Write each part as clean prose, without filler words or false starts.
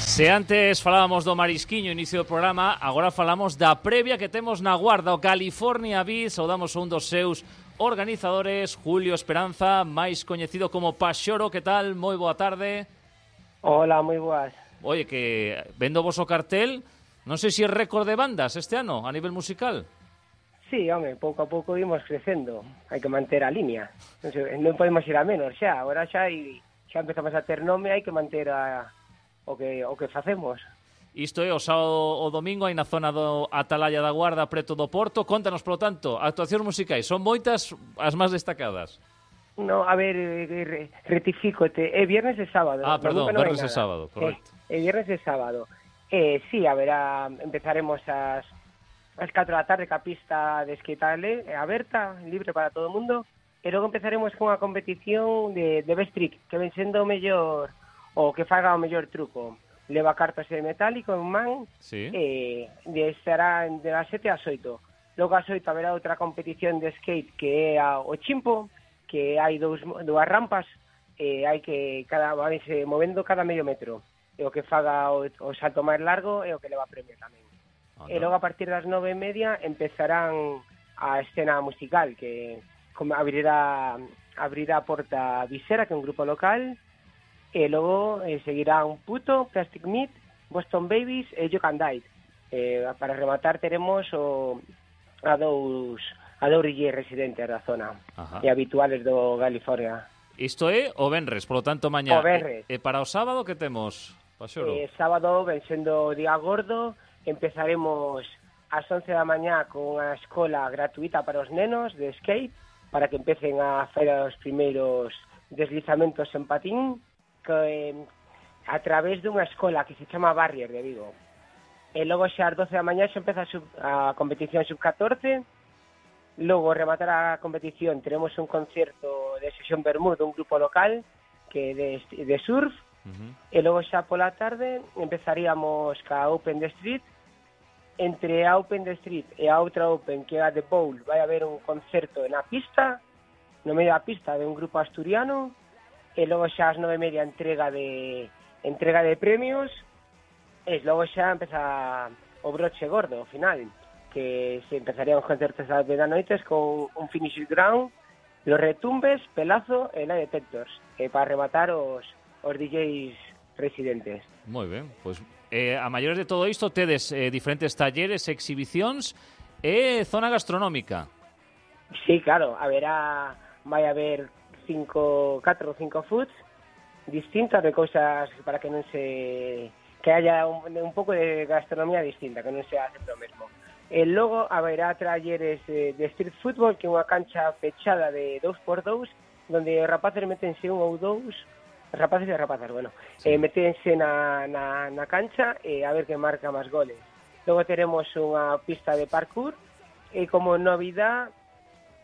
Se antes falábamos do marisquiño, inicio do programa, agora falamos da previa que temos na Guarda, o California Beat. Saudamos a un dos seus organizadores, Julio Esperanza, máis coñecido como Paxoro. Que tal? Moi boa tarde. Hola, moi boas. Oye, que vendo vos o cartel, non sei se é récord de bandas este ano a nivel musical. Sí, home, pouco a pouco imos crecendo. Hai que manter a línea. Non podemos ir a menos xa. Agora xa empezamos a ter nome, hai que manter o que facemos. Isto é o sábado o domingo aí na zona do Atalaya da Guarda, preto do Porto. Contanos, polo tanto, actuacións musicais. Son moitas as máis destacadas. No, a ver, rectifícote. É viernes e sábado. Perdón, viernes e sábado, correcto. É viernes e sábado. Sí, empezaremos ás 4 da tarde, que a pista de skate aberta, libre para todo o mundo. E logo empezaremos con a competición de best trick, que ven sendo o mellor, o que faga o mellor truco. Leva cartas de metálico en man, sí. Estará de las 7 ás 8. Logo ás 8 haberá outra competición de skate que é o chimpo, que hai dúas rampas, hai que vanse movendo cada medio metro. E o que faga o salto máis largo é o que leva premio tamén. E logo a partir das 9:30 empezarán a escena musical, que abrirá a Porta Visera, que é un grupo local. E logo seguirán Puto, Plastic Meat, Boston Babies e You Can Die. Para rematar teremos a dous DJ residentes da zona. Ajá. E habituales do California. Isto é o venres, polo tanto mañá. O venres. E para o sábado que temos, Paxoro? Sábado, ven sendo día gordo, empezaremos ás 11 da mañá con a escola gratuita para os nenos de skate, para que empecen a facer os primeiros deslizamentos en patín, a través dunha escola que se chama Barrier de Vigo. E logo xa ás 12 da mañá xa empeza a competición sub-14. Logo, rematar a competición, teremos un concerto de sesión Bermud dun grupo local que de surf. E logo xa pola tarde empezaríamos ca Open the Street. Entre a Open the Street e a outra Open, que é a The Bowl, vai haber un concerto na pista, no medio da pista, de un grupo asturiano. E logo xa ás 9:30 entrega de premios. E logo xa empeza o broche gordo, ao final, que se empezarían os concertos ás 10 da noites con un finish ground, los retumbes, pelazo e lie detectors, para rematar os DJs residentes. Moi ben, pois a maiores de todo isto tedes diferentes talleres, exhibicións e zona gastronómica. Sí, claro, vai haber 4 ou 5 foods distintas, de cousas para que non que haya un pouco de gastronomía distinta, que non sea sempre o mesmo. E logo haberá talleres de street football, que é unha cancha pechada de 2x2, donde os rapaces metense un ou dous, rapaces e rapazas, sí. Metense na cancha e a ver que marca máis goles. Logo teremos unha pista de parkour e como novidade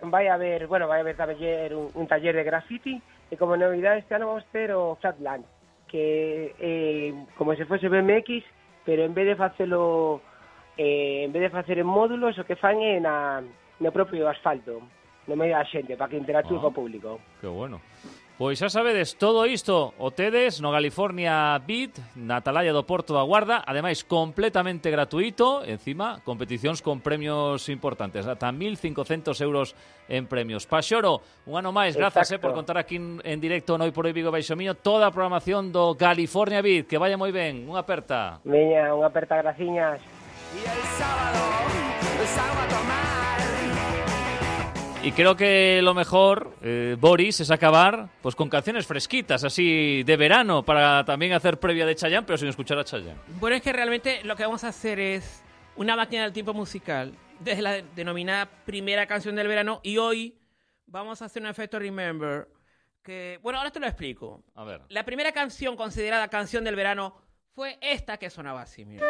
vai haber un taller de graffiti, e como novidade este ano vamos ter o Flatland, que é como se fose BMX, pero en vez de facelo en módulos, o que fan é no propio asfalto, no medio da xente, para que interactúe co público. Que bueno. Pois xa sabedes, todo isto o tedes no California Beat, na Atalaya do Porto da Guarda, ademais completamente gratuito, encima competicións con premios importantes, ata 1.500 euros en premios. Paxoro, un ano máis, grazas por contar aquí en directo no Hoy por Hoy Vigo Baixo Miño toda a programación do California Beat, que vaya moi ben, unha aperta. Veña, unha aperta, graciñas. Y el sábado salgo a tomar. Y creo que lo mejor, Boris, es acabar pues con canciones fresquitas, así de verano, para también hacer previa de Chayanne, pero sin escuchar a Chayanne. Bueno, es que realmente lo que vamos a hacer es una máquina del tiempo musical, desde la denominada primera canción del verano, y hoy vamos a hacer un efecto Remember, que, bueno, ahora te lo explico. A ver. La primera canción considerada canción del verano fue esta que sonaba así, mira.